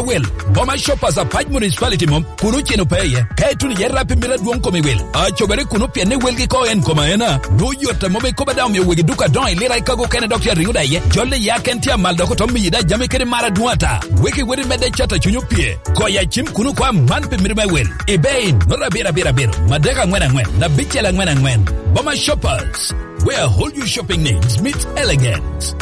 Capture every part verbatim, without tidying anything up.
Wel, Boma Shoppers Apac Municipality mom, kun oceno pe iye. Ka ituno iye rap i mito adwoŋ kom i wel. Acobere kuno pien ni welgi ko en kom aena. Nwoŋo yot a mom ikobo daŋ omio wegi duka adoŋo i lira i kago kene dok tye ariŋo da iye. Jolle ya ken tye amal dok oto miyi da jami kede mar adwoŋ ata. Weki weri medde cat a cuny opye. Koya cim kuno ko aman pi mito me wel. Ibe in, nota abiro abiro abiro, madek aŋwen aŋwen, abicel aŋwen aŋwen. Boma Shoppers, where all your shopping needs meet elegance.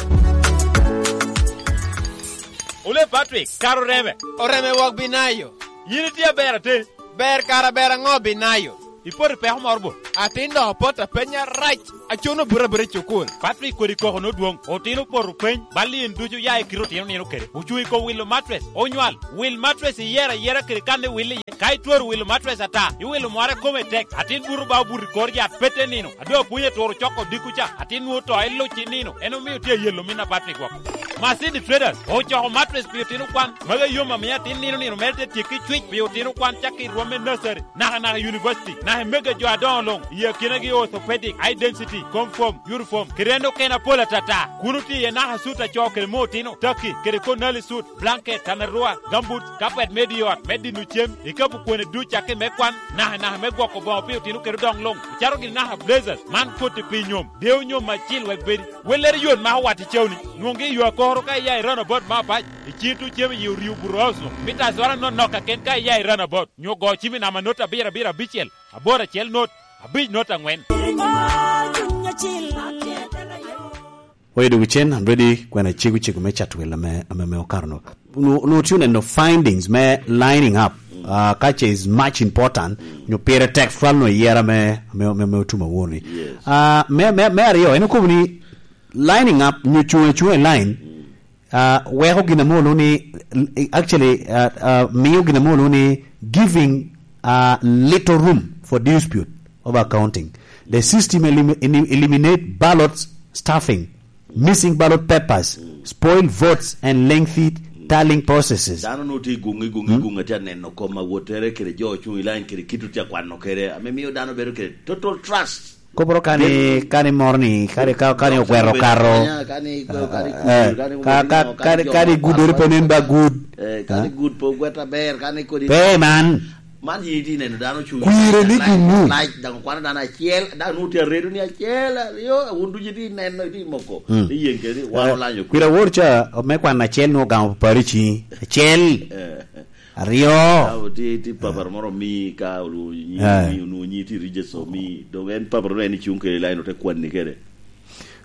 Ole Patrick, kara oreme. Oreme wok Binayo. Yin itye aber ate? Ber kara ber aŋo Binayo? Ipoto i peko moro bo? Atin dok opot apenya rac, acuno buto abuta i cukul. Patrick kodi koko nodwoŋ, otino opoto peny, bal in ducu ya i kite otino nino kede. Ocuŋ i kom wilo matres, onywal. Wil matres iyero ayera kede kan iwil iye. Ka itwero wilo matres ata, iwilo mware kome tek, atin buto ba obuto i kor yat pete nino. Ado apwony eturo coko dikku ca, atin nwoŋo to iluc i nino. En omio tye ayelo min a Patrick woko. Masini Traders ocoko matres pi otino kwan. Magi yom amiyo atin nino nino mere te tyekki cwic pi otino kwan cakki i rwom me nursery, naka naka i university, naka i mega jo adoŋo luŋ, i akinagi orthopedic, high density, comfort, uniform, kede en okene apol atata. Kun otye iye naka sut a co kede mo otino, taki, kede konali sut, blanket, tanarua, gambut, kapet me di ot, me dino cem, ikapu kwene duc cakki me kwan, naka naka me gwoko boŋo pi otino kede odoŋ luŋ, icato gini naka blazers, man koti pi nyom, dewo nyom acil wek bedi. Wellere yot mako wat i cawni. Nwoŋgi i yo akoro ka iya i roundabout me apac, i cito cem i orio buroso, mita azora nonok kaken ka iya i roundabout, nyo go cim i namba not abiro abiro abicel, aboro acel not, abic not aŋwen. Oye dog cen, I'm ready, kwena cego cego me cat wel ame, ame, ame okato no. No, no tye oneno findings me lining up, uh, ka ce is much important, nyo pire tek twal no yera me, me, me, me otum awor ni. Yes. Uh, me, me, me aryo, en okobo ni lining up, nyo cuŋ, cuŋ i line, uh, weko gin ame olu ni, actually, uh, uh, miyo gin ame olu ni giving, uh, little room for dispute over counting. The system elim-, elim-, eliminate ballot stuffing, missing ballot papers, spoiled votes, and lengthy tallying processes. Dano no tye i guŋ, i guŋ, i guŋ, atye aneno kom awottere kede jo ocuŋ i line kede kit otye akwano kede, ame miyo dano bedo kede total trust. Koporo kani, kani moro ni, kani ka, kani ogwero kato. Kani, kani, eh, kani, ka, ka, kani, kani gudere pe nen ba gud. Eh, kani gud pe ogwet aber, kani kodi pe man. Man yin itye neno dano cuŋ kwire ni guŋu. Lac, daŋ okwano dano acel, daŋ nwoŋo tye aredo ni acel, aryo, wun ducu itye neno, itye moko. Mm. Iyeŋ kede, wan olanyo kwir. Kwir awor ca, me kwan acel nwoŋo ogamo parici. Acel. Eh. Aryo. Ka otye, tye papar moro omi ka onwoŋo nyi, eh, omi, onwoŋo nyi tye register omi, dong en papar en icuŋ kede line ote kwanni kede.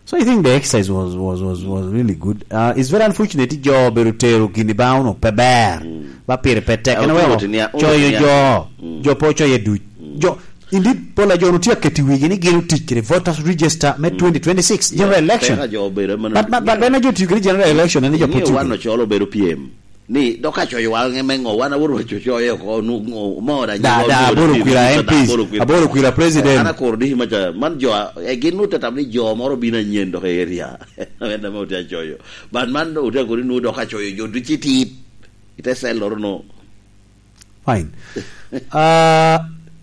So I think the exercise was, was, was, was really good. Uh, it's very unfortunate ni jo obedo tero gini ba onwoŋo pe ber. Mm. Ba pire pe tek. Eh, en oweko coyo jo. Mm. Jo pe ocoyo duc. Mm. Jo, indeed, pol a jo onwoŋo tye aketo i wigi ni gin otic kede voters register me, mm, twenty twenty-six general election. But, but, but en a jo tiyo kede general election, en a jo pe otiyo kede. Wan ocolo obedo pyem. Ni, dok ka coyo wan me ŋo, wan aworo wa cocoyo oko, nu-, ŋo, mo da, da, aboro kwira M Ps, aboro kwira president. Eh, an akoro diki maca, man jo a, eh, gin nu te tam ni jo moro bino anyen dok i area. Amenda me otye acoyo. But man otye akori nu dok acoyo jo duci tit. Ite cell loro no. Fine. Ah,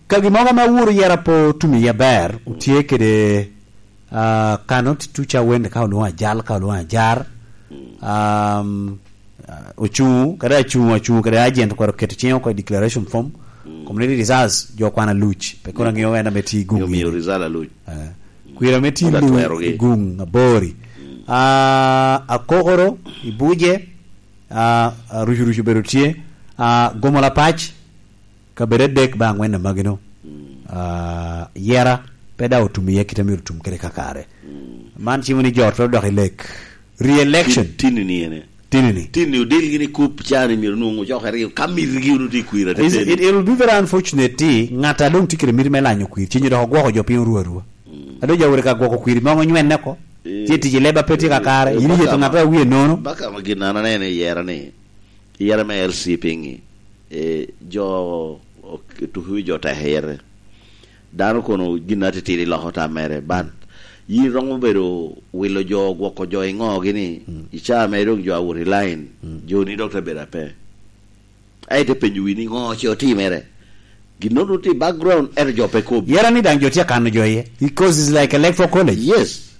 ka gin mogo ame aworo yera po tumi ya ber, utye kede Ah, kano ti tuca wende ka olwoŋo ajal, ka olwoŋo ajar. Um, ah, ocuŋ, kadi acuŋ, acuŋ, kadi agent kwero keto ciŋe oko i declaration form. Community reserves, jo kwana luc, pe kono ŋeo en ame ti i guŋ. Omiyo result aluc. Eh. Kwira me ti lu i guŋ abori. Ah, akokoro, i buje, ah, ah, rucu rucu bedo tye, ah, gomo lapac, Kabedo adek ba aŋwen amagino. Ah, yera, pe daŋ otum iye kite myero otum kede kakare. Man cimo ni jo twero dok i lek. Re-election. Tin-, tinni ni ene. Tinni ni. Tinni odil gini kup cani myero nwoŋo ocok aryo. Ka mitigi wunu tye i kwira. Is, teteni. It, it will be very unfortunate ti ŋat a doŋ tye kede miti me lanyo kwir. Cinyo dok ogwoko jo piny orwa arwa. Ado ja wore ka gwoko kwir, moŋo nywenne oko. Eh, tye tic i leba pe tye kakare. Eh, in iyeto ŋat a wie nono. Baka ma gin an aneno i yera ni. Yera me L C piŋi, eh, jo ok-, tuki wi jo tek yere. Dano kono gin atitidi loko tam mere, but yin romo bedo wilo jo, gwoko jo i ŋogi ni, i caa mere doŋ jo awot i line, jo ni dok te bedo ape. Aye te penyo wi ni ŋo ce otimere. Gin nono tye i background, ento jo pe kobo. Yera ni daŋ jo tye akano jo iye, because it's like electoral college. Yes.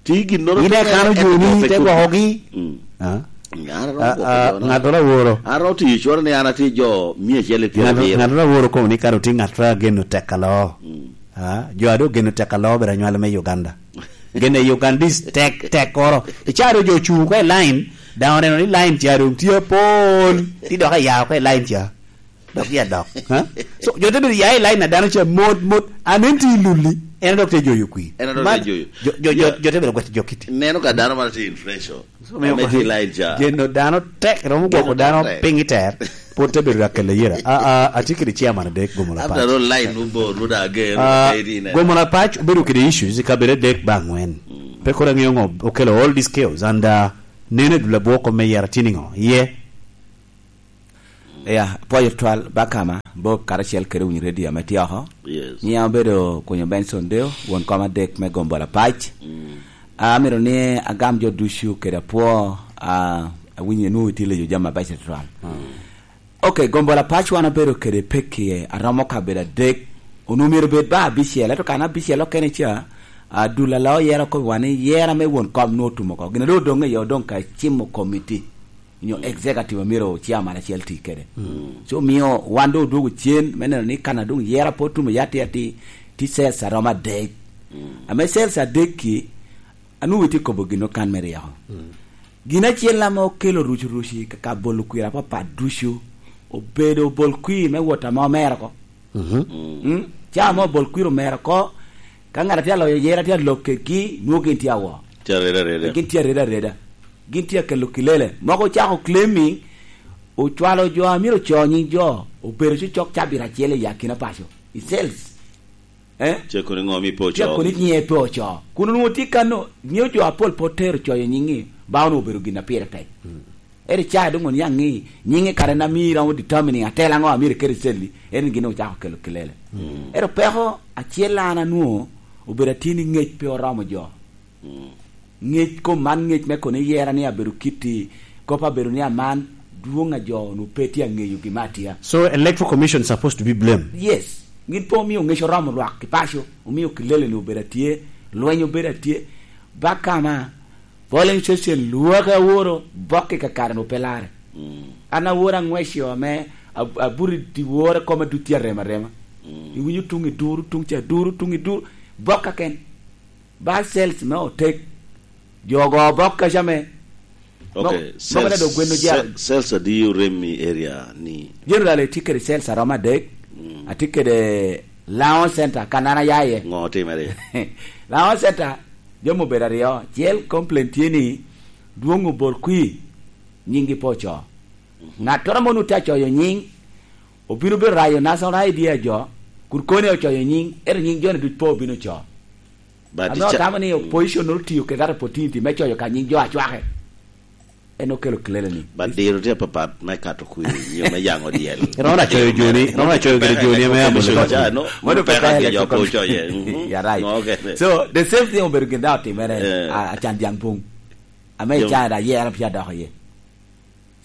Ti gin nono in ikano joni, te gwokogi. Mm. Ah. An aromo Ah, gwoko ah, jo na. Ŋattoro aworo. An aromo tiyo cwalo ni an atye jo mia acel i pyerabiro. Ŋattoro aworo kono ni kara otye ŋattoro ageno tek aloo. Mm. Ah, jo a doŋ geno tek aloo bene anywale me Uganda. Geno i Ugandese tek, tek koro. I caro jo ocuŋ oko i line, daŋ oneno ni line ca doŋ tye apol. Ti dok aya oko i line ca. Dok ya dok. Ha? So, jo te bedo ya i line na dano ca mot, mot. Anen ti lulli. En dok te joyo kwir. En dok te joyo. Jo, jo, jo, jo te bedo gwet jo kiti. Neno ka dano maro tye influential. So, miyo ame tye i line ca. Geno dano tek, romo gwoko dano piny i ter, pwod te bedo akelle yera. A, a, atye kede chairman adek, Gomola Pac. After all, line nu bor, nu da ger, Ah, nu da ger, gomola pac obedo kede issues i kabedo adek ba angwen. Mm. Pe koro aŋeo ŋo okelo all these chaos, and, uh, neno i dul abwoko me yera tye niŋo? Ye. Ya, pwoyo twal, Bakama, Bob karacel kede Winyi Radio ame tye oko. Yes. Nyiŋa obedo Kunyo Benson Deo, won kom adek me Gomola Pac. Mm. Ah, amito ni agam jo ducu kede apwo, ah, awinyo nwoŋo itye leyo jami abeco tutwal. Mm. Ok, Gomola Pac wan obedo kede pekki aromo kabedo adek, onwoŋo myero bed ba abicel, ento kan abicel okene ca, ah, dul ala oyero kobbi wan ni yera me won kom nwoŋo otum oko. Gin a doŋ odoŋ iye odoŋ ka cimo komiti. Nyo executive a myero chairman acel ti kede. Mm. So, omio wan doŋ odwogo cen me neno ni kan a doŋ yera pe otum iye atir atir, ti sales aromo adek. Mm. Ame sales adek-ki, anwoŋo itye kobo gin okan me ryeko. Mm. Gin acel ame okelo rucuruci ka, ka bolo kwir apapat ducu, obedo bol kwir me wot ame omero oko. Mhm. Mm. Ca ame obol kwir omero oko, ka ŋat a tye aloyo yera tye alok kedgi, nwoŋo gin tye awo. Tye areda areda. Gin tye areda areda. Gin tye akelo kilele. Mogo ocako claiming, ocwalo jo a myero oco nyiŋ jo, obedo cocok cabit acel i akina paco, i sales. Eh? Ce kono ŋo mi pe oco? Ce kono nyiŋe pe oco. Kun onwoŋo tye kano, ŋeo jo apol pe otero coyo nyiŋi, ba onwoŋo obedo gin a pire tek. Mm. Ento ca doŋ oniaŋ ni nyiŋe kare na mi iromo determining atela ŋo a myero iket i celli, en gin ocako kelo kilele. Mm. Ento peko acel an anwoŋo obedo atye ni ŋec pe oromo jo. Mm. Ŋec kom man, ŋec me kono iyera ni abedo kitti, kop abedo ni aman, dwoŋ a jo onwoŋo pe tye aŋeyo gin me atia. So, Electoral Commission supposed to be blamed? Yes. Gin pe omio ŋec oromo lwak i paco, omio kilele-ni obedo atye, lweny obedo atye. Bakama, polling station lwak aworo, bok i kakare-nu pe larre. Mm. An aworo aŋweco ame ab-, abuto i dyewor koma duc tye arem arema. Mm. Iwinyo tuŋ i duru, tuŋ ca duru, tuŋ i duru, bok kaken. Ba sales me otek. Jo ogo bok kaca me. Ok, mo-, mo sales, kata dok gweno jal. Se-, sales adi orem i area ni? Generally, tye kede sales aromo adek. Mm. Atye kede Laŋo Center, kan an aya iye. Ŋo otimere? Laŋo Center, jami obedo aryo. Acel, complaint tye ni dwoŋ obol kwir, nyiŋgi pe oco. Mhm. Ŋattoro ame onwoŋo tye acoyo nyiŋ, obino bedo rayo national I D a jo, kun koni ocoyo nyiŋ, ento nyiŋ joni duc pe obino co. But ame ica-, otamo ni opposition nwoŋo tio kede that opportunity me coyo ka nyiŋ jo acwake. En okelo kilele ni. But diro tye apapat me kato kwir, nyo me yaŋo dyel. Romo na coyo joni, romo na coyo gire joni ame amo. Commission ca, no, mano pe peka ka jo electoral commission. Coyo, mhm. You're right. Okay. So, the same thing obedo gin daŋ otimere, eh, a, Acan Dyaŋ Pong. Ame jo- ica da yera pia dok iye.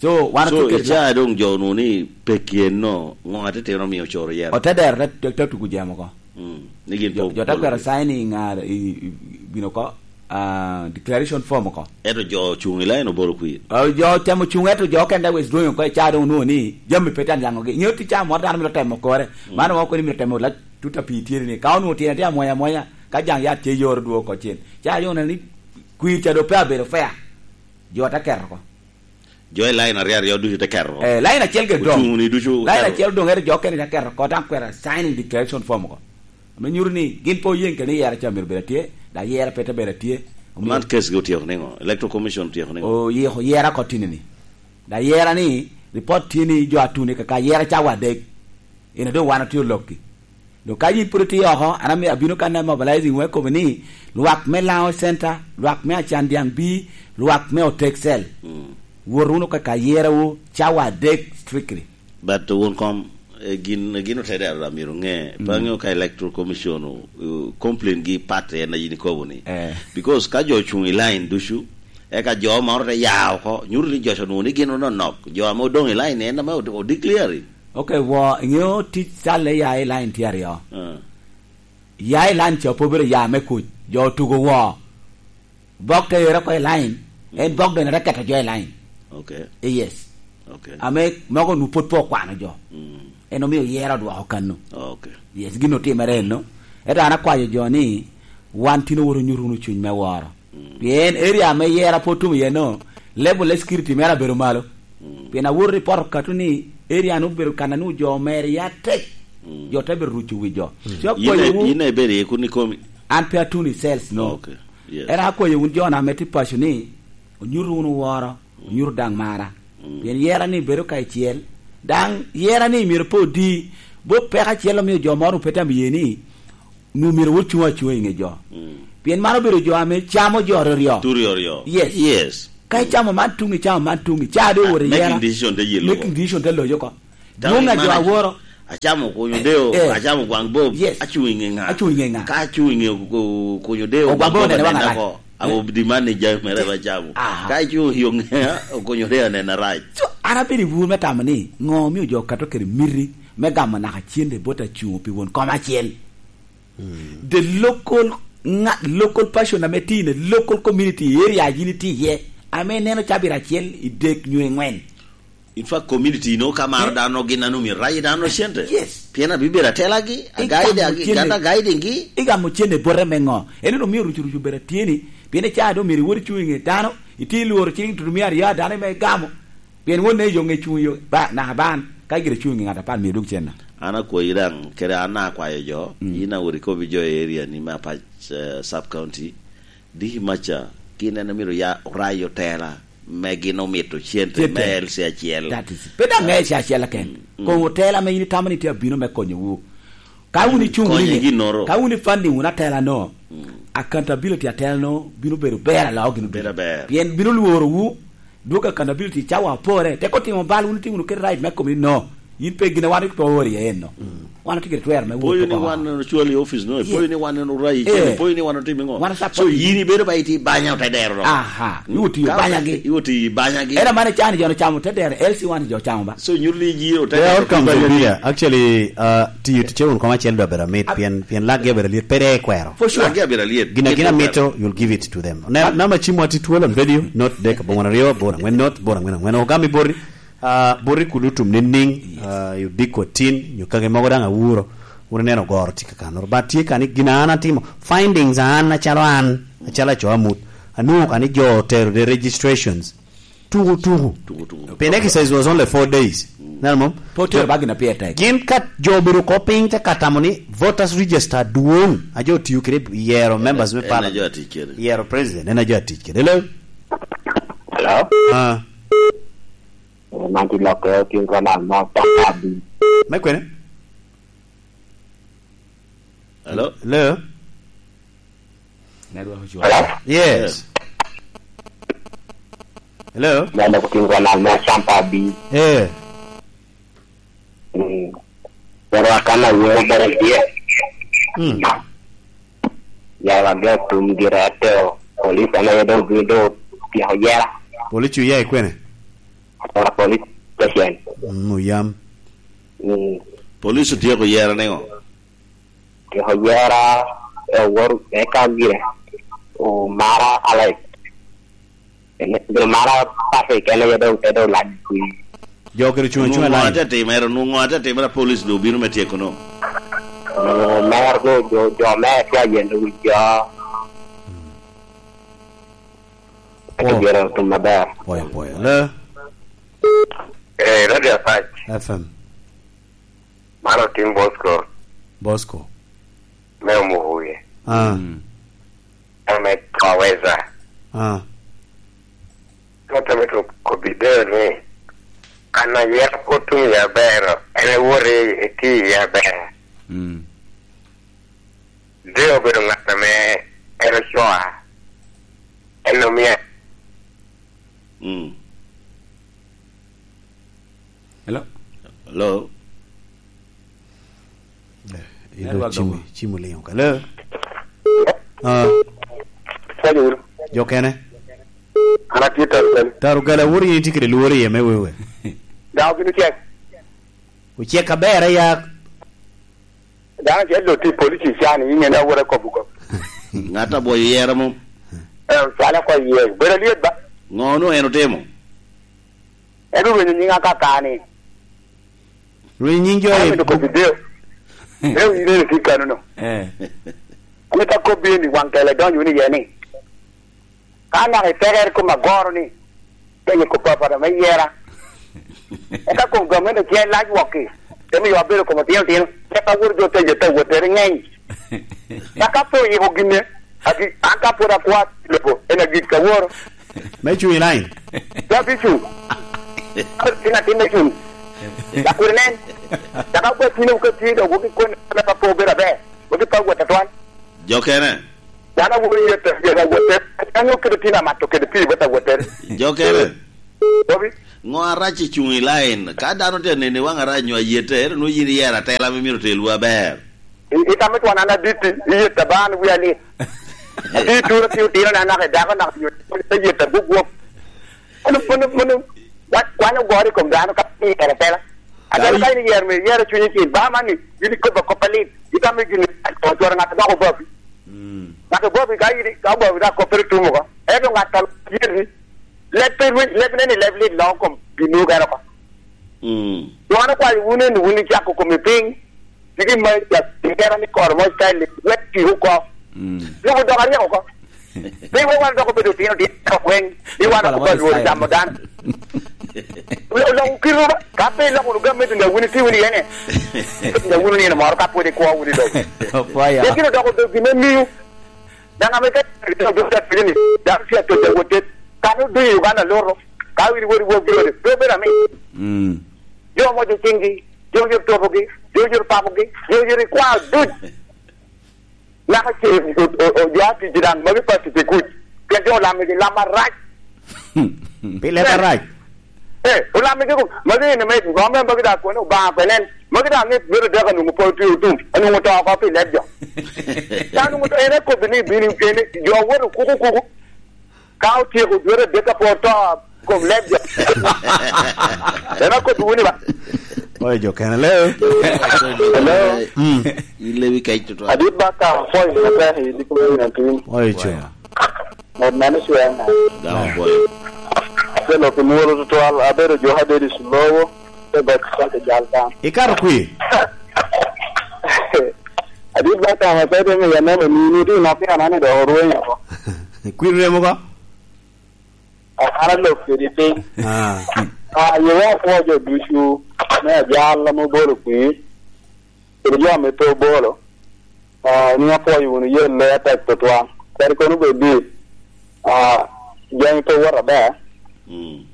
So, wan So, otye kede ica doŋ jo nu ni pe kyen no, ŋo atitino omio ocoro yero? Otedero te, te, te tuku jemo oko. Mm. Ni gin jo, po-, jo te polo kwero ni. Signing, ah, i, i, bino oko, ah, declaration form oko. Ento jo ocuŋ i line obolo kwir. Ah, jo otemo cuŋ, ento jo okene wes dwonyo oko, ica doŋ onwoŋo ni jami pe tye aniaŋogi. Ingeyo tic ca moro dano mito temo kore. Mm. Mano wan okoni mito temo lac tut a pii tye ni. Ka onwoŋo tyen atye amwonya amwonya, ka jaŋ yat tye yoro dwogo oko cen. Ca doŋ oneno ni kwir ca doŋ pe abedo fair. Jo te keto oko. Jo i line aryo aryo ducu te keto oko. Eh, line acel gire doŋ. Ocuŋ ni ducu oketo. Line acel doŋ, ento jo okene te keto oko, daŋ kwero signing declaration form oko. Ame nyuto ni gin pe oyeŋ kede ni yera ca myero bed atye, daŋ yera pe te bed atye. Omio man case gi otyeko niŋo? Electoral Commission otyeko niŋo? Oyiko yera oko tini ni. Daŋ yera ni, report tye ni jo atuni kaka yera cawa adek. Ina doŋ wan otye olokki. Doŋ ka yin pwod itye oko, an ami-, abino kan a mobilizing wek kobo ni, lwak me Laŋo Center, lwak me Acan Dyaŋ Bii, lwak me Otek Cell. Mm. Wot wunu ka, ka yerawu cawa adek strictly. But wun kom, eh, gin, gin otede arura myero ŋe. Mm. Pe aŋeo ka Electoral Commission o, o, complain gi party en a yin ikobo ni. Eh. Because ka jo ocuŋ i line ducu, eka jo moro te ya oko, nyuto ni jo ca onwoŋo ni gin ononok. Jo ame odoŋ i line en ame o, o declare. Ok, wo, iŋeo tic calle ya i line tye aryo. Ah. Ya i line ca pe obedo ya me kuc, jo otugo wo. Bok te ero oko i line, en bok bene te keto jo i line. Okay. Eh, yes. Okay. Ame mogo nu pwod pe okwano jo. Mm. En omio yera odwoko kano. Okay. Yes, gin otimere eno. Ento an akwayo jo ni wan tin owoto nyuto wunu cuny me woro. Mm. Pien area me yera pwod tum iye no, level of security mere abedo malo. Mm. Pien awoto i poto katu ni area nu obedo kan anu jo mere ya tek. Mm. Jo te bedo ruco wi jo. Mm. So akwayo wu. Yin ibedo iye kun ikomi? An pe atun i sales no. Okay. Yes. Era akwayo wun jo na mete paco ni onyuto wunu woro. Onyuto daŋ mara. Mm. Pien yera ni bedo ka icel. Daŋ yera ni myero pe odi. Bo peko acel omio jo moro pe tamo ye ni nu myero wot cuŋ acuŋa i ŋe jo. Mm. Pien man obedo jo ame camo jo ryoryo. Tu ryoryo. Yes. Yes. Ka icamo man tuŋ, icamo man tuŋ, ica doŋ wot i yera. Making decision te yelo. Making decision te loyo oko. Dwoŋ a jo aworo. Acamo kunyo deo, eh, acamo gwaŋ bob, yes, acuŋ i ŋe ŋa? Acuŋ i ŋe ŋa? Ka acuŋ i ŋe ku-, kunyo deo, gwaŋ bob onene waŋ arac. Awo di man ni jami mere ba acamo. Aha. Ka acuŋ i ŋe, kunyo deo onene arac. So, an abedo i wur me tamo ni, ŋo omio jo okato kede miti me gamo naka cente bot acuŋ pi won kom acel? Mm. The local ŋa-, local person ame tye in a local community area yin itye iye, ame ineno cabit acel i dek nyo i ŋwen. In fact, community no ka maro dano gin a numi rayi dano cente. Yes. Pien abibedo atelagi, agaidagi, gata guiding gi. Igamo cente bote me ŋo? En omio rucu rucu bedo atyeni, pien icaa doŋ myero iwot icuŋ i ŋe dano, itye lworo cing tutumia aryo a dano me igamo. Pien won ne yo ŋe cuŋ yo, ba, naka ban, ka gire cuŋ i ŋe ŋat apar myero dwog cen na. An akwayi daŋ, kede an akwayo jo, mm, yin awot ikobi jo i area ni me Apac, eh, sub county, Diki maca, gin en omito ya orayo otela me gin omito cente me L C acel. That is, pe daŋ me L C acel keken. Mm, mm. Koŋ otela me in itamo ni tye abino me konyowu. Ka wun icuŋ wunu i ŋe, ka wun i funding wunu atela no, mm, accountability atela no bino bedo ber aloo gin. Bedo aber. Pien bino lworo wu, dwog accountability cawa apore, tek otimo bal wun itye wunu kede right me komi no. Yin pe gin a wan pe oori iye en no. Mm. Wan otye kede twero me wot oko. Ipoyo ni wan ocwali i office no, ipoyo ni wan orayi cene, ipoyo ni wan otimo iŋo? Wan support. So yin ibedo ba iti banya ote dero no. Aha, iwot i banyagi. Iwot i banyagi. Era mane cani jo ocamo te dero, L C wan jo ocamo ba. So nyuto ni yin ote dero. There are outcomes of media. Actually, uh, tiyo ticce wun koma acel dwa bedo amit, pien, pien lakgi abedo liet, pe de kwero. For sure. Lakgi abedo liet. Gina, gina mito, you'll give it to them. Ne, namba cim wa tye twelve on radio, not dek abongwen aryo, bor angwen not, bor angwen angwen. Ogami bori. Ah, boti kun otum nining? Yes. Ah, i odiko atin, nyo kake mogo daŋ awuro, wun ineno ogoro tye kakanoro. But tye ka ni gin a an atimo, findings a an acalo an, acalo aco amut, anwoŋo ka ni jo otero the registrations. Tuku, tuku. Tuku, tuku. Pien exercise was only four days. Mm. Neno mom? Pe otero ba gin a pire tek. Gin ka jo obedo oko piny te ka tamo ni voters register dwoŋ, a jo otiyo kede yero members me parliament. En a jo atic kede. Yero president, en a jo atic kede. Hello? Hello? Ah. Eh, man tye lok, eh, King Ronald mo, Papa B. Me kwene? Hello? Hello? Network ocwalo. Hello? Yes. Hello? Man lok King Ronald mo, Papa B. Eh. Mm. Pero akan a wero bene tye. Mm. Yara ge tum gire ato. Police ame doŋ obino doŋ tyeko yera. Police oya i kwene? Ora police station. Mm, oyam. Mm. Police otyeko yera niŋo? Otyeko yera, e, wor, eka gire omara alec. Gire mara Patrick, en aye doŋ, en doŋ lac i. Jo kede cuŋ acuŋa. Nwoŋo ate timere, nwoŋo ate timere, police doŋ obino me tyeko no. Nwoŋo mer doŋ, jo, jo mer tye ayen wi jo. Ento gire otum aber. Pwoyo, pwoyo. Hello? Eh, Radio Apac. F M. Man otim Bosco. Bosco. Me Omuhuye. Ah. Mm. Ame Kaweza. Ah. Ŋat ame to kobbi dero ni, an ayero otum ya bero, en ewot i, i ti ya bero. Mm. Dero obedo ŋat ame en ocoa. En omia. Mm. Hello? Hello? Eh, ilo network cim, dogo. Cim oliŋo ka. Hello? Ah. Pwony wunu. Jo kene? An atye Tarugala. Tarugala, wot in itye kede lworo iye me wewe. Daŋ obino cek. Ocek aber aya. Dano acel doŋ tye i police i can, in ŋene awot akobo kop. Ŋat abwoyo yera mom. Eh, cwale oko iye. Bedo alyet ba? Ŋo onwoŋo en otimo? En orwenyo nying akaka ni. Rwenyo nying jo An e amito kobbi deo. Deo in ene tye kano no. Eh. Amito akobbi ni waŋ kele donyo wunu iye ni. Ka naka itekere kom agoro ni, penye kop apata me yera. Eka kom gamente tye lac wokki, te miyo abedo kom otino tino, eka wot jo te jo te wot tere ngeny. Ka ka pe oyiko ginne, agi, an ka pwod akwa lobo, en agik ka woro. Me cuŋ i lain. Pe abicuŋ. Tin atin me cuŋ. Lakwede nen. Caka gwe tino ka tye dok woki koni ka pe obedo aber. Woki pe wot atwal. Jokene. Dano awobi yete, yete awote. Dano kede tin amato kede pii wot awote. Jokene. Bobi. Ŋo arac i cuŋ i lain? Ka dano tye nene waŋ arac nyo ayete, ero nwo yin iyero atela me myero otelwu aber. I, i tamo twan an aditi, iyeta ba an wi alit. Ati turo ti utino na naka i dako naka nyo, iyeta gugwok. Mano, mano, mano, wa-, wan ogoro i kom dano ka iyero atela. Atela ka in iyero me iyero cunyi cil, ba man ni, yin ikobo kop alit, itamo gini, twero ŋat dok obabi. Mm. Ŋat obabi ka in, ka obabi dok koppere tum oko. Ento ŋat a yeri, leb pe rweny, leb ne ni leb lit loko kom gin nwogo gero oko. Mm. Wan okwayo wun eni, wun icako kome piny, tye gin ma igero ni koro mo style, wek ti oko. Mm. Lobo dok aryek oko. Pe iwe wan dok obedo tino tino kweny, ni wan Pala oko ba Lworo style. Camo dano. Lo-, loko kite ba, ka pe iloko wunu gamente ni awuni ti wunu iye ni. Ni awuni nino moro ka pwod ikwo wunu i lobo. Opwoyo. Lekin odoko obedo gin me miyo. Daŋ ame ka obedo ka pwod ni, dano tye atwec awote. Kan odonyo i Uganda loro, ka wiri wori wok gire, pe obedo amin. Mm. Jo mojo ciŋgi, jo yot tobogi, jo yot pabogi, jo yot ikwao duc. Naka ce o, o, o, jo atic daŋ magi pa tic i kuc, pien jo olamigi lam arac. Pi leb arac. Eh, olamigi ku, magi ene me, rom en magi daŋ kono Obaŋa pe nen, magi daŋ ni bedo dek anwoŋo pe otye otum, anwoŋo to oko pi leb jo. Ka anwoŋo to, en akobbi ni bino, en, jo woto kuku kuku, ka otyeko dwete adek ka pe oto, kom leb jo. En akobbi wunu ba. Oyo jo kene, hello. Hello. Mm. In lewi kec tutwal. Adit ba ka apwoyo matek i diko me nino tin. Oyo co. Ngat man ocwea na. Daŋ apwoyo. Acel ok imwolo tutwal, abedo jo abedo i Sulowo, te got kaka jal kan. Ikato kwi? Adit ba ka matek me yaneno ni, ni tye nok pira nani dok orwenyo oko. Kwir remo ko? An alok kedi piny. Ah. Ah, yewa apwoo jo ducu me ajal ame obolo kwir, kede jo ame pe obolo. Ah, ni apwoyo wunu yelle atek tutwal. Kadi kono bed ni, ah, jami pe wot aber. Mm.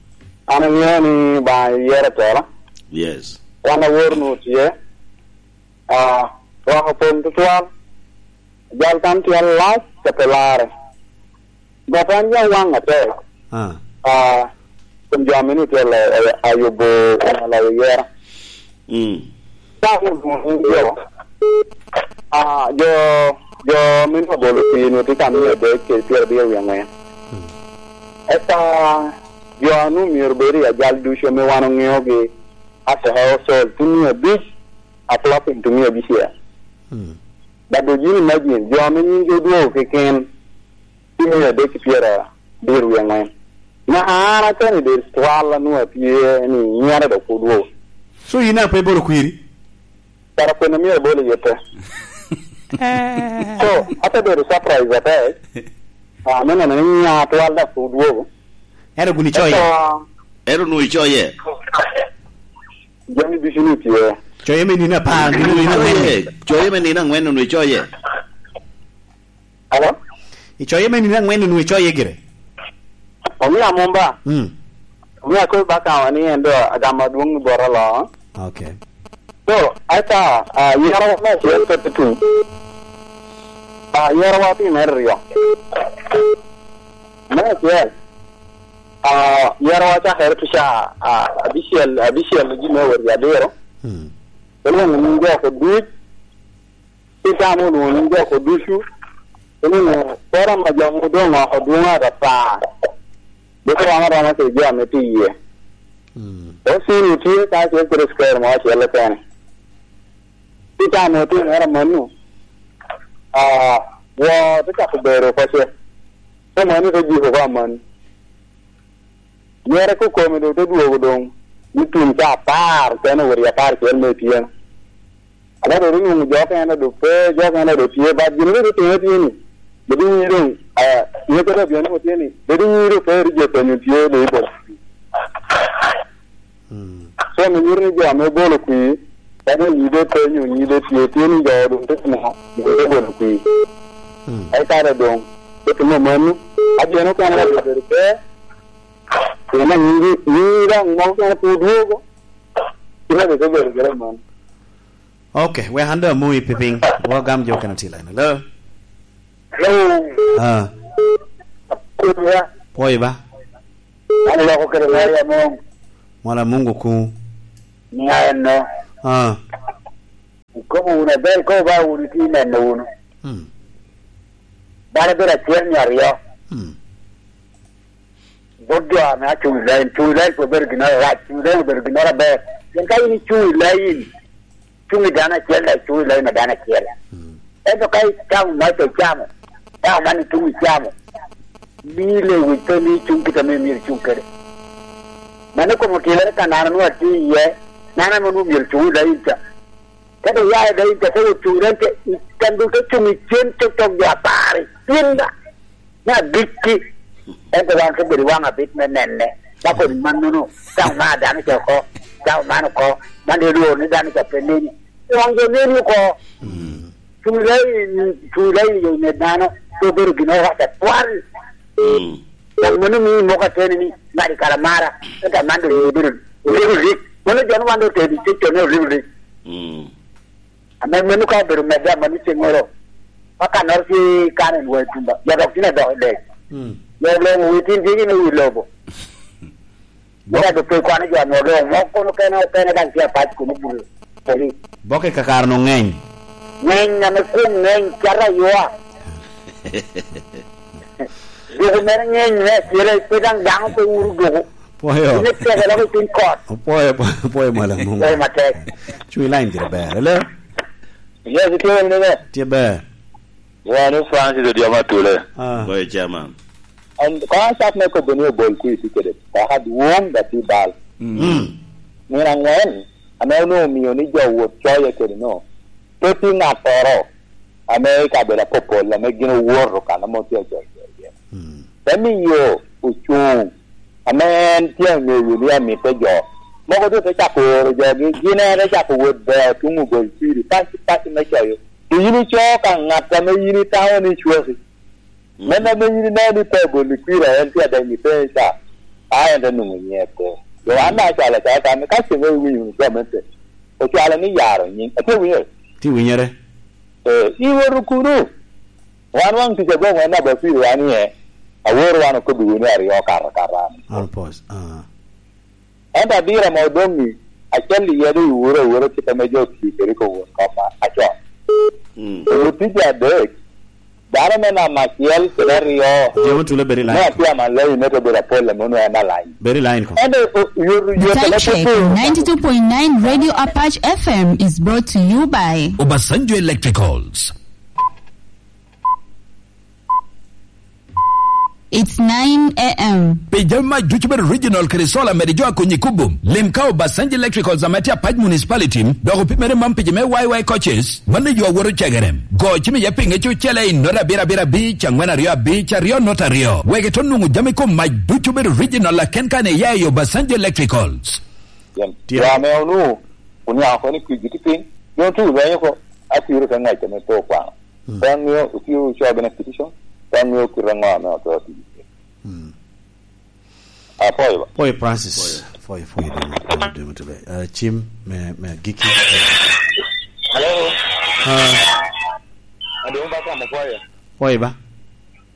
An aŋeo ni Obaŋa yero atela. Yes. Wan awor nu tye. Ah, rwako pon tutwal. Jal kan tye alac, ka pe larre. Got an yam waŋ atek. Ah. Ah, kun jo a mini tye la-, a-, ayubo kun aloyo yera. Mm. Ka wun wun jo, ah, jo, jo mini obolo pii nu tye ka miyo adek kede pyerabiro wie aŋwen. Mm. Eka jo a nu myero bed i ajal ducu ame wan oŋeogi, as a household, tye mia abic, a plus into mia abicel. Mm. But do you imagine, jo ame nyingi odwogo keken, tye mia adek ki pyerabiro wie aŋwen. Na an a candidate twal a nwoŋo atye ni nyera dok pwod wo. So yin a pe ibolo kwiri? Kara kwena myero abolo iye te. So, ate bedo surprise atek. Ah, me neno ni nya twal dok pwod wo. Ero guni coye? Ento ero nu icoye. Jami ducu ni tye. Coye me nino apar, nino, nino angwen. Coye, coye me nino angwen nu icoye. Alo? Icoye me nino angwen nu icoye gire? Omio amumba. Mm. Omio akobo bakawa ni en do agamo adwoŋ i bota lo. Okay. So, ata, ah, yero me acel pe tutum. Ah, yero wa pi me ryo. Me acel, ah, yero wa cakere pi ca, ah, abicel, abicel gi me wot i abiro. Mm. Onwoŋo nying jo oko duc, Itamo onwoŋo nying jo oko ducu, onwoŋo koro ama jo ame odoŋ oko dwoŋo atata. Dok rom aroma kede jo ame tye iye. Mm. Osinu tye ka acel kede cukari mo acel kene. Itamo otimere amanno, ah, woo te cako bedo oko ce. Te mano te jiko oko amanno. Nyere kokome doŋ te dwogo doŋ, ni tum ca apar, kene owot i apar cel me otyeno. Ame doŋ onwoŋo jo okene doŋ pe, jo okene doŋ tye, but gin rik otime tye ni, bedo inyii doŋ, eh, nyotte doŋ obino nwoŋo tye ni, bedo inyii doŋ pe rik jo openyo tye doŋ i bolo kwir. Mm. So, me nyuto ni jo ame obolo kwir, kadi onyi doŋ pe nyo onyi doŋ tye, tye ni jo doŋ te timo, doŋ te bolo kwir. Mm. Ka i kare doŋ, te timo mano, a jo okene doŋ obedo pe, pien anyingi, nyingi daŋ moko kene pwod dwogo, kite doŋ te bedo kede mano. Ok, wek an doŋ amoyi pipiny. Wagam jo okene tye i line. Hello? Hello? Ah. Kunya. Pwoyo ba? An loko kede Maria Mung. Mola Mungu kuŋ. Nia enno. Ah. Ikobo wunu aber, ikobo ba wunu itye neno wunu. Hmm. Dano bedo acel nyo aryo. Hmm. Bot jo ame acuŋ i lain, cuŋ i lain pe obedo ginnoro arac, cuŋ i lain obedo ginnoro aber. Pien ka in icuŋ i lain, cuŋ i dano acel, dok icuŋ i lain a dano acel. Mm. Ento ka icamo mac icamo, dano man ituŋ icamo, mii lewic pe mii cuŋ kit ame myero icuŋ kede. Mano kom otimere ka nano nwoŋo atye iye, nano ame onwoŋo myero cuŋ i lain ca. Ka doŋ ya i lain ca, te wot cuŋ i lain ca, i kan doŋ te cuŋ i cen cokcok jo apar i cinda. Me agikki, ento wan te bedo i waŋ abit me nene, ka kodi mannono, cawa man dano ca oko, cawa man oko, man dano lworo ni dano ca pe neni. I waŋ jo neni oko. Mm. Cuŋ i lain, cuŋ i lain i yo me dano, pe obedo gin orac atwal. Mm. Dok mano mio moko ateni ni, ngadi kara mara, ento aman doŋ obedo, obedo rik. Mano jo ni wan doŋ otero i cecco ni obedo rik. Mm. Ame meno ka obedo medde amanni ceŋŋoro, ka kannoro tye kano i lwai tumba, jo dok tye adok i dec. Mm. Jo olongo wi tin dyegi me wi lobo. Bok- Eka doŋ pe kwano jo ame olongo, moko kono okene, okene daŋ tye apac kun obuto poli. Bok i kakare-nu ŋeny. Ŋeny ame kwon ŋeny, cata aywa. Doko mere ŋeny me acel, pe daŋ dano pe wuro doko. Pwoyo. Ine teke loko i piny kot. Opwoyo, opwoyo, opwoyo mwal amuŋ. Pwoyo matek. Cuŋ i line gire ber. Hello? Yes, itye wunu ber? Tye ber. Wan i Francis Odhiambo Atule. Ah. Pwoyo, chairman. An, ka acat me kobo ni obol kwir tye kede paka dwoŋ, da tye bal. Mm. Mm. Nino aŋwen, ame onwoŋo omio ni jo wot coye kede no, pe tye ŋattoro ame i kabedo apopol ame gin owoto kan ame otye acoc iye. Mm. Te miyo ocuŋ ame en tye aŋeyo ni amitte jo. Mogo doŋ te cako oro jogi, gin en te cako wot beo tuŋ obol kwiri, paci, paci me coyo. To yin ico ka ŋat ame yin itamo ni cwaki. Mm. Men ame yin ineno ni pe obol kwiri, en tye adek i piny ca, a en te nwoŋo nyiŋe pe. Jo an acwalo acwala kan, ka ceŋ iwinyo wunu gamente, ocwalo ni yaro nyiŋ. Atye winyere? Tye winyere. Eh, iwoto kuno? Wan waŋ tic agoŋ en namba piri wan iye, aworo wan okobbiwu ni aryo okato akata. An pos, ah. Ento adira ma odoŋ-ŋi, acel iye doŋ iwuro awura kit ame jo otio kede i kom won kop acon. Mm. Onyo tic adek, dano me namba acel kede aryo, Jemo Tule, bed i line. Me atye amalayi, me te bedo apol ame onwoŋo en alany. Bed i line ko. Ento, o-, yot, yot, The time check on ninety-two point nine Radio Apache F M is brought to you by Obasanjo Electricals. It's nine a m. Pi jami mac ducu bedo original kede solar, mede jo akonyi kubo. Lim ka Obasanjo Electricals ame tye Apac Municipality, dok opimere mam pi jo me Y Y coaches, mano yo awoto cegere. Go cim iye pinge cucele i nota abiro abiro abic, angwen aryo abic, aryo nota aryo. Wek ito nwoŋo jami kom mac ducu bedo original, lakin kan iya i Obasanjo Electricals. Tye. Wa ame onu, oniaŋ oko ni kwir giti piny, doŋ tuŋ lweny oko, akwiro ka ŋwec ame pe okwano. Mm. Pe aŋeo, okio ocoo bene petition, pe aŋeo kite aŋo ame oto tye. Mm. Apwoyo ba. Pwoyo Francis. Pwoyo. Pwoyo, pwoyo, dwong, pwoyo, dwong, tebe. Uh, cim me, me agikki. Hello. Ah. Adwong ba kamo pwoyo. Pwoyo ba.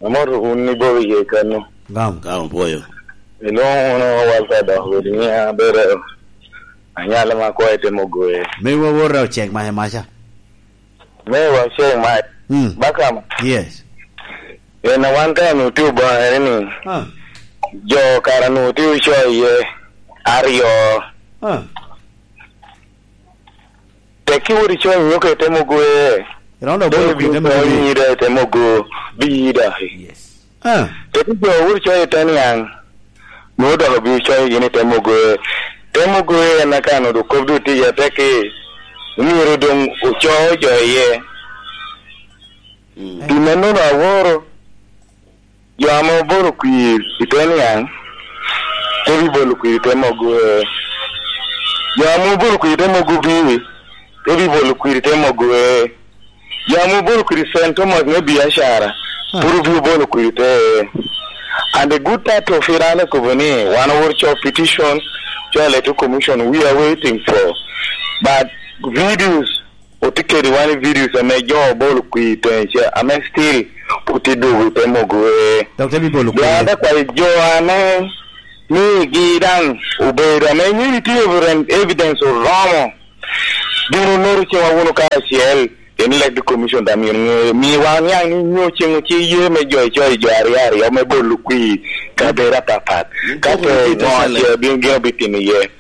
Amor wun ni bobo ye kano. Gam. Gam pwoyo. Ilong uno walta dok wodi ni abere anyalo ma kwa ete mogoye. Me wa wora ocek maca maca. Me wa ocek mac. Mm. Bakam. Yes. En a wan ka nu tye obaŋere ni. Ah. Jo kara nu tye ocoye aryo. Ah. Tek ki wot icoyo nyuka i te mogo e. Irondo oboyo kwir te mogo. Te mogo, biyida. Yes. Ah. Tek ki jo wot icoyo i te niaŋ. Nwoŋo dok obino coyo gin i te mogoe. Te mogoe en aka nwoŋo kop doŋ tye iye atek i, myero doŋ oco jo iye. Pi mannono aworo jo ame obolo kwir i te niaŋ, te bibolo kwir i te mogoe. Jo ame obolo kwir i te mogo obio, te bibolo kwir i te mogoe. Yam obolo kwiri Saint Thomas me biacara, pur obio bolo kwiri te. And the good part of it, an akobo ni, wan owor co petition, co electoral commission, we are waiting for. But videos, otye kede wan i videos ame jo obolo kwiri te, ce, ame still pwod tye dogo te mogo e. Dok te bibolo kwiri. Dok akwayo jo ame migi daŋ obedo ame nyo itye evidence oromo. Bino noto cewa wunu kacel, en electoral commission daŋ myero ŋe, miwa niaŋ ni nyo ceŋ tye ye me jo icoyo jo aryo aryo me bolo kwir kabedo apapat. Ka pe ŋo acel bino gin obitimo iye.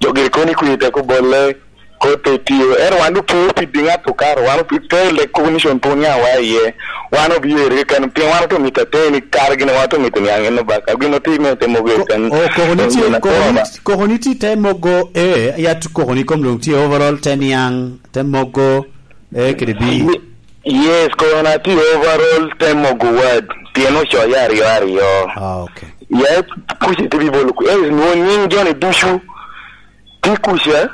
Jo giri kono i kwir tek obolle, kot pe tio. Ento wan doŋ pe opid i ŋat okaro, wan opid te electoral commission pe oniaŋ wa iye. Wan obio eri keken, pien wan oto mito ateni kare gin wan oto mito niaŋ en obaka. Gin otim me te mogo eken. O, koko ni tye, koko ni, koko ni tye te mogo e, ya tu koko ni kom doŋ tye overall te niaŋ, te mogo e kede bi. Ye-, yes, koko na tye overall te mogo wad, pien ocoye aryo aryo. Ah, okay. Ya kuca te bibolo ku, eh, nwo nying joni ducu, tye kuca,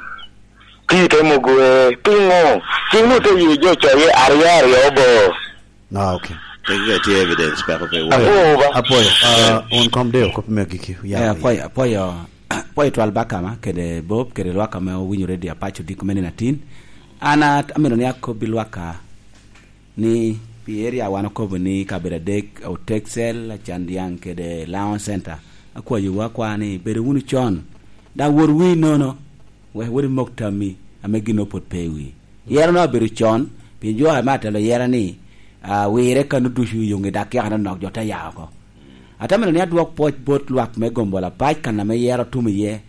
tye te mogo e, piŋo? Cing nu te ye jo coye aryo aryo bo. Ah, okay. Pe ka tye evidence, peko pe wo. Apo ba. Apoyo, ah, un kom de okop me giki, ya. Eh, apoyo, apoyo, apoyo twal bakama, kede Bob, kede lwak ame owinyo radio apaco diko me nino atin. An a-, amito ni akobbi lwaka ni pi area wan okobo ni kabedo adek, Oteksel, Acandiaŋ, kede Lion Center. Akwayowu akwa ni bedo wunu con, daŋ wot wi nono, wek wot imok tammi ame gin opot pe i wi. Yero no abedo con, pien jo ame atelo yero ni, ah, wire kano ducu i yoŋe dak yaka nonok jo te ya oko. Atamino ni adwok pwoc bot lwak me Gombola Pac kan ame yero otum iye.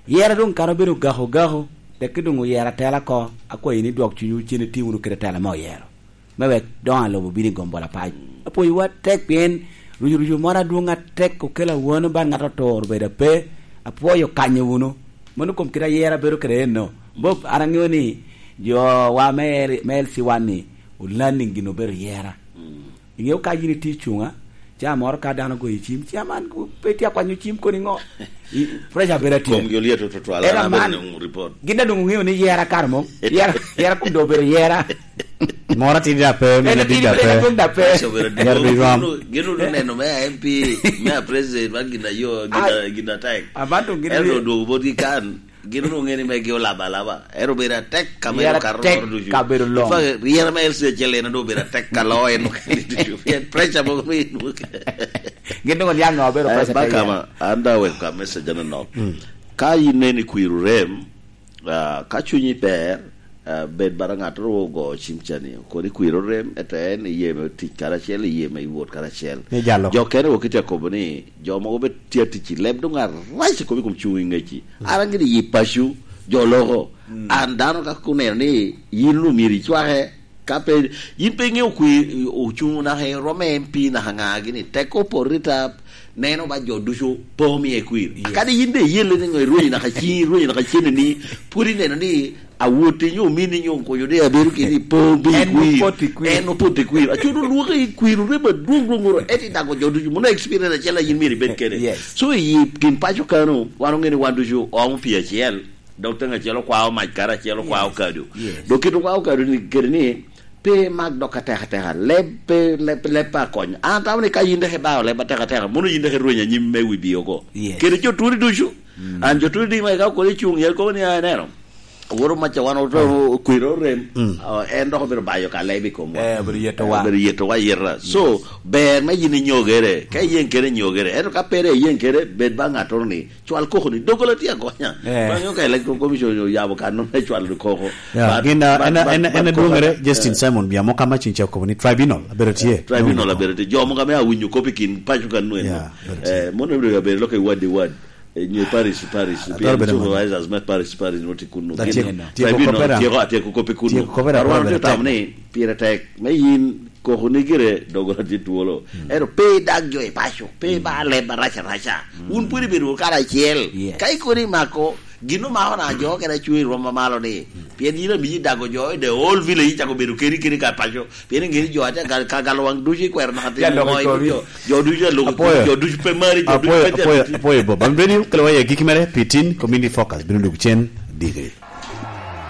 Yero doŋ kara obedo gako gako, tek doŋ oyero atela oko, akwayi ni dwok cunywu cen iti wunu kede tela me oyero. Me wek doŋ alobo bino i Gombola Pac. Apwoyowu atek pien rucu rucu moro adwoŋ atek okelo awano bal ŋat otur obedo ape, apwoyo kanyo wunu. Mano kom kite ayera bedo kede eno. Bob, an aŋeo ni jo wa me L-, me L C one ni, olanning gin obedo yera. Mm. Iŋeo ka yin itye i cuŋa, ca moro ka dano ogoyo cim, ca man pe itye akwanyo cim koni ŋo? I, pressure bedo atye. Komgi olyeto tutwal, ela an abedo man, nwoŋo report. Gin daŋ doŋ oŋeo ni yera kare mom. Yera, yera kun doŋ obedo yera. Moro atidi da pe, en mene atidi da pe. Atidi da pe. Pressure obedo adwoŋ. Yera bi rom. Gin, gin oneno me M P, me a president, man gin ayo, gin a, gin atek. Aman doŋ gin ento odwogo botgi kan. Gin onwoŋo ŋe ni megi olabo alaba. Ero obedo atek ka mere okato loro ducu. Ryera me L C acel en onwoŋo obedo atek ka loo en okene ducu. Pien pressure mogo me inwoŋo. Gin onwoŋo niaŋ ŋo obedo pressure te bakama, an da wek ka message anonok. Mm. Ka in neni kwir orem, ah, ka cunyi ber, ah, bed bara ŋat ru ogo cim ca ni, kodi kwir orem, ete en iye me tic karacel, iye me iwot karacel. Jo kene wok itye akobo ni, jo mogo be tye atic i leb doŋ arac i kom, i kom cuŋ i ŋeci. An gini yi paco, jo loko. Mm. An dano ka kuneno ni yin lu myero icwake, ka pe, yin pe iŋeo kwi, ocuŋ naka i rwom M P naka ŋa gini, tek opo rita, neno ba jo ducu po omie kwir. Yes. Akadi yin de iyelle ni ŋo irwenyo naka ciŋi, irwenyo naka cene ni, pwod ineno ni awoti nyo omini nyo onkoyo de abedo kede i po bi kwir. En opot i kwir. En opot i kwir. Aco doŋ lwoke i kwir, orem adwoŋ dwoŋ oro, eti dago jo ducu. Mono experience acel a yin myero ibed kede. Yes. So, i kin paco kano, wan oŋe ni wan ducu omo pi acel. Dok teŋ acel okwao mac kara acel okwao kado. Yes. Dok kit okwao kado ni, kede ni, pe mak dok atek ateka. Leb, pe, leb, leb pe akony. An atamo ni ka yin dek ibao leb atek ateka, mono yin dek irwenyo anyim me wi bi oko. Yes. Kede jo turi ducu. Mm. An jo turi di ma ika okoni cuŋ, yal kobo ni, "Ah, ineno. Woro maca wan oto kwero orem." Mm. Ah, en dok obedo bayo ka leb i komwa. Eh, obedo yeto wa. Eh, obedo yeto wa yeta. So, yes, ber me yin inyogere. Ka iyen kede inyogere. Ento ka pere iyen kede, bed ba ŋattoro ni, cwal koko ni, dogola tye agonya. Eh. Ba ŋeo ka Electoral Commission oyabo kan me cwalo koko. Ya, but, gin, ah, but, en, but, en, but en adwoŋere, eh, Justin Simon Biamo ka macin ca okobo ni tribunal abedo tye. Eh, tribunal abedo tye. Jo mogo ame awinyo kop i kin paco kano eno. Ya, abedo tye. Eh, mono obedo, abedo lok i ward i ward. Eh, nyo i parish i parish. Atwero bedo supervisors me parish i parish noti kuno. Gin, tribunal, tyeko, tyeko kop i kuno. Tyeko kop i kuno. Arwano tye tamo ni pire tek. Me yin Koko ni gire dogo tye twolo. Mm. Ento pe idag jo i paco, pe, mm, iba leb arac araca. Mm. Wun pwod ibedo wunu karacel. Yes. Ka ikono imako, gin omako na jo kede acwe i rwom mamalo ni. Mm. Pien yin amiyi dago jo i the whole village, icako bedo keni keni ka paco. Pien ingeni jo atye ka, ka galo wang ducu ikwero naka timo. Ya, loko i kori. Jo, jo ducu aloko i kori, jo ducu pe mari, jo ducu pe tito. Apoyo, apoyo, apoyo, Bob. Bam Radio, kelo wa i agikki mere, pi tin, Community Focus, bino dwogo cen, digiri.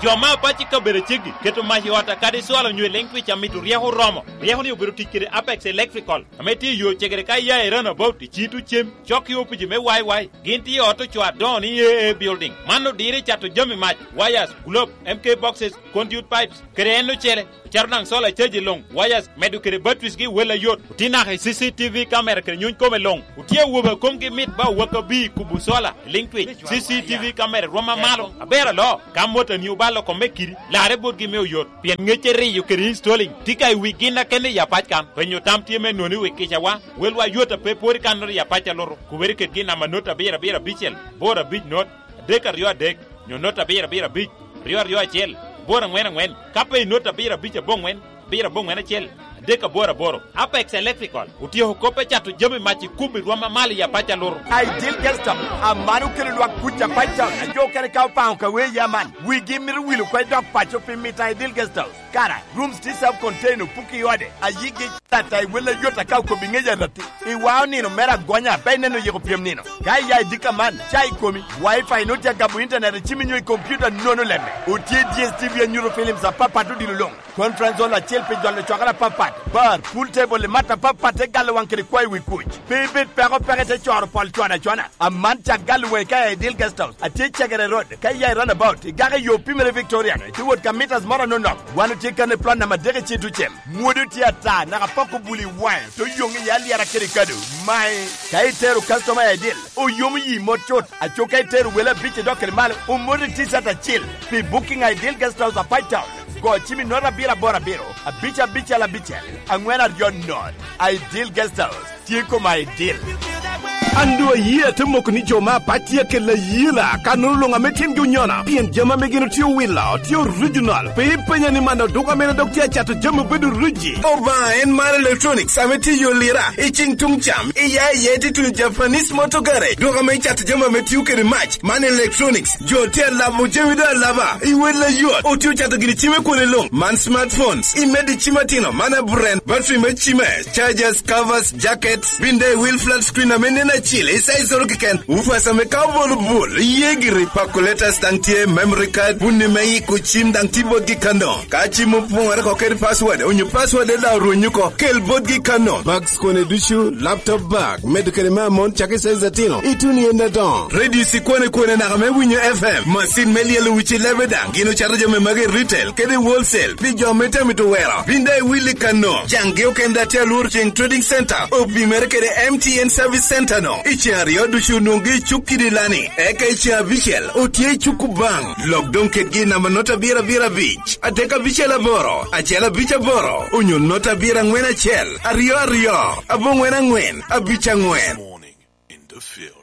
Jo me apac i kabedo aceggi keto mac i ot akadi cwalo onyo i liŋ twic amito ryeko oromo. Ryeko-ni obedo tic kede Apex Electrical, ame tye i yo cegere ka iya i Runabout i Cito Cem, cok i opici me Y Y. Gin tye i ot ocoo adoŋo ni A A Building. Man odiro i cato jami mac, wires, globe, M K boxes, conduit pipes, kede en ocele. Ocito daŋ solar charge i luŋ, wires, medo kede batteries gi wel ayot. Otye naka i C C T V camera kede nyuny kome luŋ. Otye awobe a komgi mit ba owak abir i kubo solar i liŋ twic. C C T V camera rwom amalo. Aber aloo, ka motani obalo kome kidi, larre botgi me oyot. Pien ŋecce riyo kede installing tye ka i wi gin akene i apac kan. Penyo tam tye me noni wi kicawa. Welwa yot a pe pwod i kannoro i apac alutu. Kubere kedgi i namba not abiro abiro abicel, boro abic not, adek aryo adek, nyo not abiro abiro abic, ryo aryo acel, boro aŋwen aŋwen, ka pe i not abiro abic aboŋwen, abiro aboŋwen acel, adek aboro aboro. Apex Electrical otyeko kop me cato jami mac i kubo i rwom amalo i apac alutu. Ideal Guest House, aman okelo lwak kuc apac town, a jo okene ka opaŋo ka wee ya man, wigi mito wil oko i dog paco pi mito Ideal Guest House. Kara, rooms tye self contained, opuko i ode, ayigi ata i wel ayot aka okobo i ŋec aratti. Iwao nino mere agonya, pe ineno yiko pyem nino. Ka iya i dika man, ca i komi, Wi-Fi nut tye agamo internet i cimi nyo i computer nono lemme. Otye D S T V anyuto films apapat odilo luŋ. Conference hall acel pi jolo cokere apapat. Bar, pool table i mat apapat te galo waŋ kede kwayo wi kuc. Pe ibed peko peke te coro pol cwano acwana. Aman cak galo waŋi ka i Ideal Guest House. Atye i Cegere Road, ka iya i Runabout, igako i yo pimere Victoria, itye wot ka meters moro anonok. Wan otye kan i plot namba adek i Cito Cem. Mwodi tye ata, naka pok obuli i waŋe, te oyoŋ iye alyera kede kado. Mae, ka itero customer i Ideal, oyomo yi mot cut. Aco ka itero wele abic idok kede malo, omoti T-shirt acil. Pi booking i Ideal Guest House apac town, go cim i not abiro aboro abiro, abic abicel abicel, aŋwen aryo not. Ideal Guest House. Tye koma i dil. An doŋ ayie ate moko ni jo me apac tye akelo ayela, ka nono luŋ ame timgi onyono, pien jami ame gin otye owilo tye original. Pe ipenya ni man oduka mene dok tye acato jami obedo riji. Obaŋa en mar electronics ame tye i yo lira, i ciŋ tuŋ cam, iya iye tye tuno Japanese motor garage, duka ame cato jami ame tio kede mac, man electronics. Jo tye alabo jami doŋ alaba, i wel ayot. Otye ocato gini cim i kwone luŋ. Man smartphones, i medo i cim atino, man aburen, battery me cime, chargers, covers, jackets, bin daŋ i wil flat screen ame nen acil, i size oro keken. Woofers ame ka obolo bul, iye giri. Calculators daŋ tye, memory card, bunni me yiko cim daŋ tye botgi kano. Ka cim opoŋere oko kede password, onyo password daŋ orweny oko, kel botgi kano. Bags kone ducu, laptop bag, medo kede me amon, cak i size atino, ituno i en adoŋo. Radio cikwane kwane naka me winyo F M, macin me lyelo wic i lebe daŋ. Gin ocato jami magi i retail kede i wholesale pi jo ame tye amito wero. Bin daŋ iwil i kano. Caŋgi okende atye alworo ceŋ Trading Center, opimere kede M T N Service Center no. I ceŋ aryo ducu onwoŋgi i cuk kidi lani. Eka i ceŋ abicel otye i cuk Kubaŋ. Lok doŋ kedgi i namba not abiro abiro abic, adek abicel aboro, acel abic aboro, onyo not abiro aŋwen acel, aryo aryo, aboŋwen aŋwen, abic aŋwen. Morning in the field.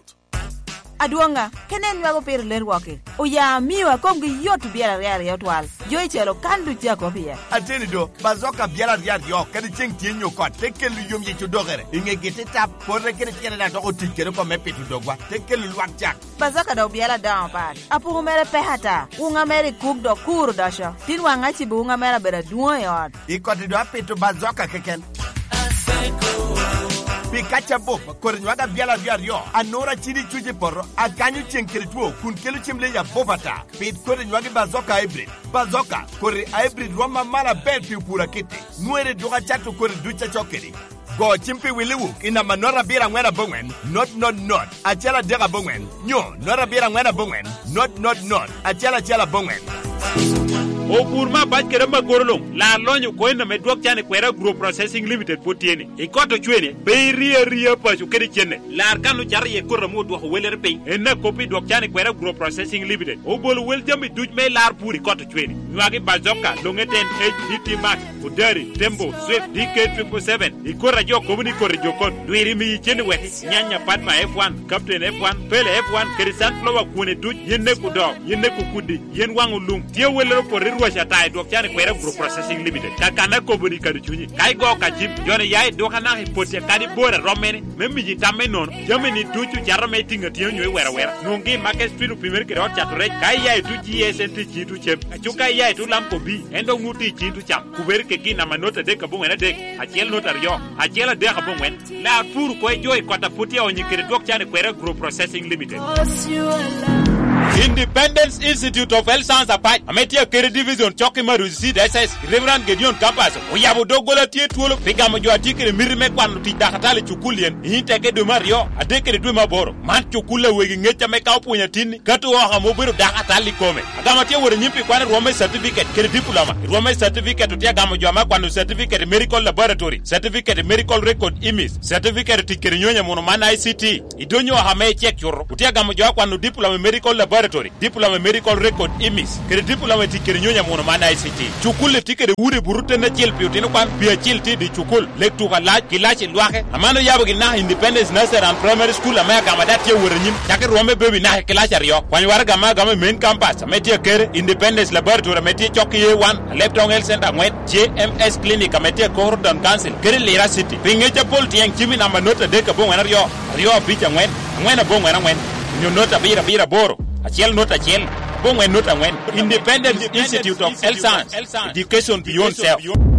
Adwoŋa, kene en nywako pire ler wok-ki. Oya amio a komgi yot obyelo aryo aryo twal. Jo i calo kan duc tye akop iye. Ateni do, bazoka obyelo aryo aryo, kadi ceŋ tye nyo kot, te kelo yom yec odokere. I ŋegi te tap, pote kede tyene daŋ dok otic kede oko me pito dogwa, te kelo lwak cak. Bazoka dok obyelo adoŋo pat. Apuku mere pek ata. Wuŋa mere i kuk dok kur odoco. Tin waŋ acibo wuŋa mere abedo adwoŋ i ot. I koti do apito bazoka keken. Pi kaca bup, kodi nywag abyala aryo aryo, anura cidi cuc i poto, akanyo ceng kede two, kun kelo cem leyi abup ata. Pit kodi nywagi bazoka hybrid. Bazoka, kodi hybrid rwom amalo aber pi opur akitti. Nwere duk acato kodi duc acok kedi. Go cim pi Willy Wook i namba not abiro aŋwen aboŋwen, not not not, acel adek aboŋwen, nyo not abiro aŋwen aboŋwen, not not not, acel acel aboŋwen. Opur me abac kede amagoro luŋ, lar lonyo oko en ame dwok can i kwera Agro Processing Limited pwod tye ni. I kot ocwene, pe iri aria paco kede cenne. Lar kan ocato iye koti ame odwoko welere piny. En akop i dwok can i kwera Agro Processing Limited. Obolo wel jami duc me lar pur i kot ocwene. Nywagi Bazoka, Longeten H D T Max, Odari, Tembo, Swift, D K triple seven. I koti a jo kobo ni koti jo kot, dwiri miyi cen i weki, Nyanya Padma F one, Captain F one, Pele F one, kede Sunflower kwone duc, yen nek odo, yen nek okudi, yen waŋ olum. Tye wellere opoto i rwac ata i dwok can i kwera Agro Processing Limited. Kakanna kobo ni kado cunyi. Ka igo ka cim, joni ya i duka naka i poti kadi bor a rom mene, me miyi tam me nono. Jami ni ducu cato me tiŋ atyeŋ onyo i wera wera. Nwoŋgi i Market Street opimere kede ot cato rec. Ka iya i tuc G S N T ci tuc cem. Aco ka iya i tuc Lamco B, en dok nwoŋo tye i ci tuc cam. Kubere kegi namba not adek aboŋwen adek, acel not aryo, acel adek aboŋwen. Lar pur ko i jo i kot a put tye onyi kede dwok can i kwera Agro Processing Limited. Independence Institute of Health Science Apac, ame tye akede division cok i Maruzi Seed S S, Reverend Gideon Campus, oyabo doggola tye twolo pi gamo jo a tye kede miti me kwano tic dakatali i cukul yen, i teke dwe me aryo, adek kede dwe me aboro. Man cukul a wegi ŋec ame ka opwonyo atinni, kato oko ame obedo dakatali i kome. Agamo tye wot anyim pi kwano rwom me certificate kede diploma. I rwom me certificate otye agamo jo ame akwano certificate i medical laboratory, certificate i medical record imis, certificate tic kede nyonyo amuno man I C T. I dony oko ame icek cuto, otye agamo jo akwano diploma i medical laboratory, diploma i medical record imis, kede diploma i tic kede nyonyo amuno man I C T. Cukul-li tye kede udi buto ten acel pi otino kwan, pi acil tye i dye cukul, lek tuko alac, kilaci lwake. Aman oyabo gi naka Independence Nursery and Primary School ame agamo ada tye awot anyim, cako i rwom me baby naka i kilaci aryo. Kwany waraga ame agamo i main campus ame tye akere, Independence Laboratory ame tye cok i A one, Alebtong Health Center aŋwen, J M S Clinic ame tye akoro Town Council, kede Lira City. Pi ŋec apol tyeŋ cim i namba not adek aboŋwen aryo, aryo abic aŋwen, aŋwen aboŋwen aŋwen, onyo not abiro abiro aboro, acel not acel, aboŋwen not aŋwen. Independence Institute of Health Science, Education Beyond Self.